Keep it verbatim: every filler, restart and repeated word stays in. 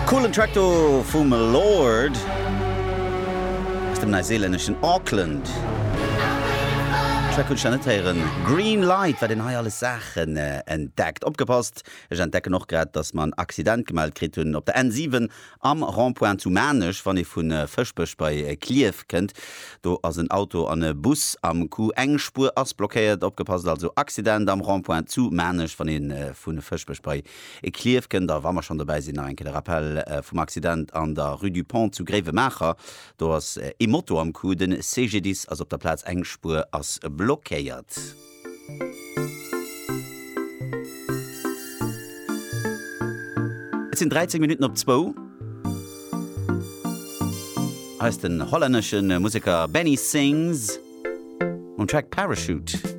Coolen Track do vum Lorde aus dem neuseelänneschen Auckland. Track hunn ech nach net héieren. Green Light, wat een hei alles Saachen entdeckt. Opgepasst, ech entdecken och grad, dass mer en Accident gemellt kritt hunn op der N siwen am Rond-point zu Maarnech, wann ee vu Fëschbech bei Klierf kënnt. Do ass en Auto an e Bus am Coup, eng Spuer ass blockéiert. Opgepasst also, Accident am Rond-point zu Maarnech, wann ee vu Fëschbech bei Klierf kënnt. A wa mer schonn dobäi sinn, nach eng Kéier de Rappel vum Accident an der Rue du Pont zu Gréiwemaacher. Do ass ee Moto am Coup, de C G D I S ass op der Plaz, eng Spuer ass blockéiert. Et sinn dräizéng Minutten op zwou. Hei ass den hollännesche Museker Benny Sings mam Track Parachute.